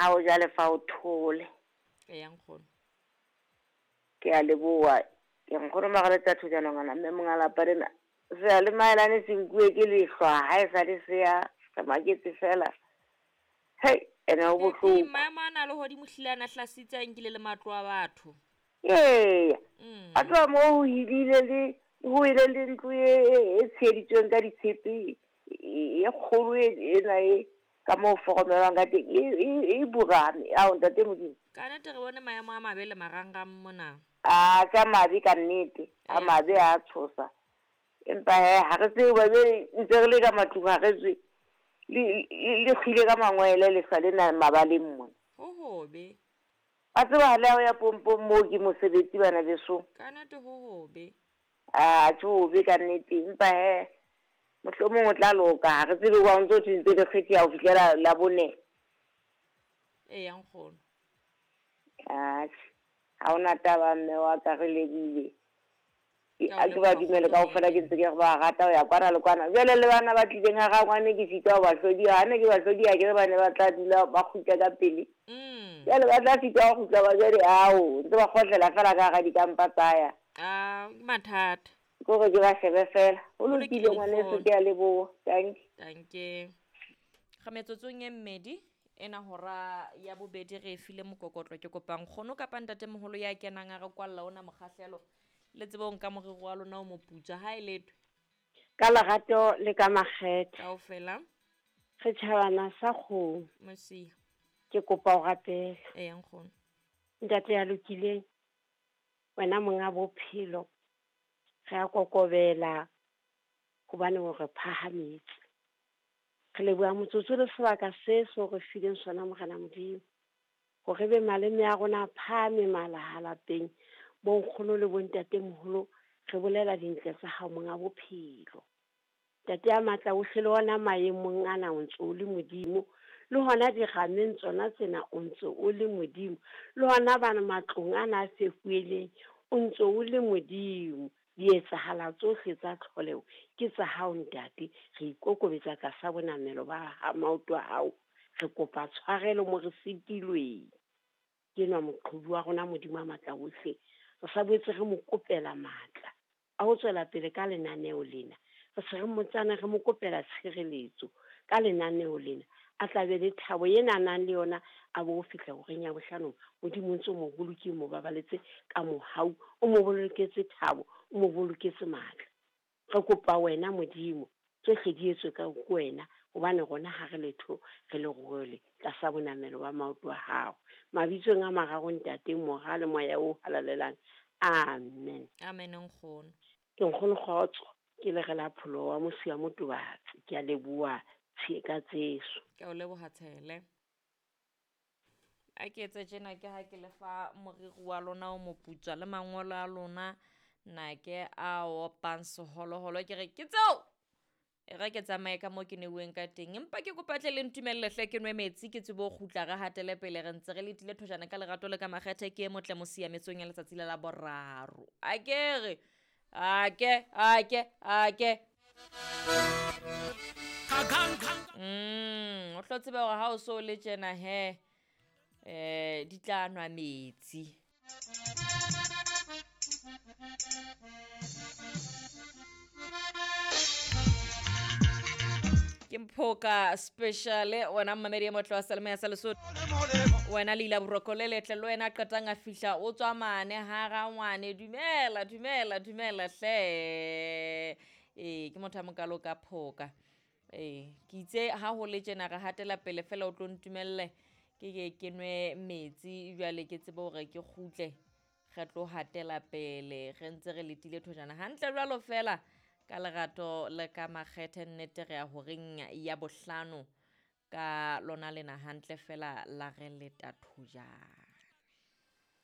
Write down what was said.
Ha o jalefa o thole. Eya nkgono. Ke a leboha. Ke nkgono Magaletsa Thojana ngwana mme monga lapa lena. Se le maelane se nkuwe ke lehlwa ha e sa le se ya re maketse fela. Hei, ene ho bohloko. Maemo ana a lehodimo hlile a na hlasitse a nkile le matlo a batho. Eya. A tloha moo ho hidile le ho ile le ntlo e e tsheheditsweng ka ditshepe e kgolo ena e ka moo foromelwang ka teng e burame. Ao ntate Modimo. Ka nnete re bone maemo a mabe le marangrang mona. A tsa mabe ka nnete, a mabe a tshosa. Empa he ha re tsebe ba be ntse re le ka matlung ha re tswe. Le kgile ka mangwele lehlwa lena mabaleng mona. Ho hobe. Wa tseba ha le ya ho ya pompong moo ke mosebetsi bana beso. Ka nnete ho hobe. A tjho hobe ka nnete empa he mohlomong o tla loka ha re tsebe wa ntso thwe ntse le kgetheha ho fihlela la bone. Eya nkgono. Atjhe, ha hona taba mme wa ka re lebile. A ke ba dumele kaofela ke ntse ke re ba rata ho ya kwana le kwana. Jwale le bana ba tlileng ha rangwane ke sitwa ho ba hlodiya. Ha ne ke ba hlodiya ke re ba ne ba tla dula ba kgutla ka pele. Jwale ba tla sitwa ho kgutla ba jwale ao ntse ba kgotlela fela ka hara dikampa tsa ya. Ah, ke mathata. Ke hore ke ba shebe fela. Ho lokile ngwaneso ke a leboha. Dankie. Dankie. Re metsotsong e mmedi ena hora ya bobedi re e file mokokotlo ke kopa nkgono kapa ntatemoholo ya kenang a re kwalla ona mokgahlelo le tsebe ho nka moriri wa lona o moputswa ha e letwe. Ka lerato le ka makgethe. Kaofela. Re tjhabana sa kgomo. Mosia. Ke kopa o rapele. Eya nkgono. Ntate ya lokileng, wena monga bophelo, re a kokobela hobane o re phahametse. Re leboha motsotso le sebaka se so re fileng sona Morena Modimo. Hore be maleme a rona a phahame malaha lapeng, bonkgono le bontatemoholo re bolela dintle tsa hao monga bophelo. Ntate ya matla ohle le ona maemong ana o ntse o le Modimo, le hona dirameng tsona tsena o ntse o le Modimo, le hona bana matlong ana a fefueleng o ntse o le Modimo. Dietsahala tsohle tsa tlholeho ke tsa hao ntate, re ikokobetsa tlasa bonamelo ba maoto a hao, re kopa tshwarelo mo re sitilweng. Ke enwa moqhobi wa rona Modimo a matla ohle, re sa boetse re mo kopela matla a ho tswela pele ka lenaneo lena. Re se re motsana re mo kopela tshireletso ka lenaneo lena, a tla be le thabo ena a nang le yona a bo fihla horeng ya bohlano. Modimo o ntse o mo bolokile, mo babaletse ka mohau, o mo boloketse thabo, o mo boloketse matla. Re kopa wena Modimo, tsohle di etswe ka wena, hobane rona ha re letho re le role tlasa bonamelo ba maoto a hao. Mabitsong a mararo ntate, Mora le Moya o halalelang. Amen. Amen nkgono. Ke nkgono kgotso, ke le re la pholo wa Mosia Motobatsi. Ke a leboha ka tseso. Ke o leboha Tshele. A ke etse tjena ke ha ke le fa moriri wa lona o moputswa le mangolo a lona na ke a opang seholoholo ke re ke tseo. E re ke tsamaye ka moo ke neuweng ka teng, empa ke kopa tle le ntumelle hle ke nwe metsi ke tsebe ho kgutla re hatele pele. Re ntse re letile thojana ka lerato le ka makgethe ke e motle mosiametsong ya letsatsi la la boraro. A ke re a ke a ke o tlo tseba hore ha o so le tjena he di tla nwa metsi. Ke Mphoka special wena mmamedi e motle wa Salome ya sa Lesotho, wena Leila Boroko le letle le wena qetang a fihla o tswa mane ha rangwane. Dumela dumela dumela hle. Ke motho a mokalo ka Phoka. Ke itse ha ho le tjena re hatela pele fela o tlo ntumelle ke ke nwe metsi jwale ke tsebe hore ke kgutle re tlo hatela pele re ntse re letile thojana hantle jwalo fela ka lerato le ka makgethe. Nnete re ya horeng ya bohlano ka lona lena hantle fela la re leta thojana.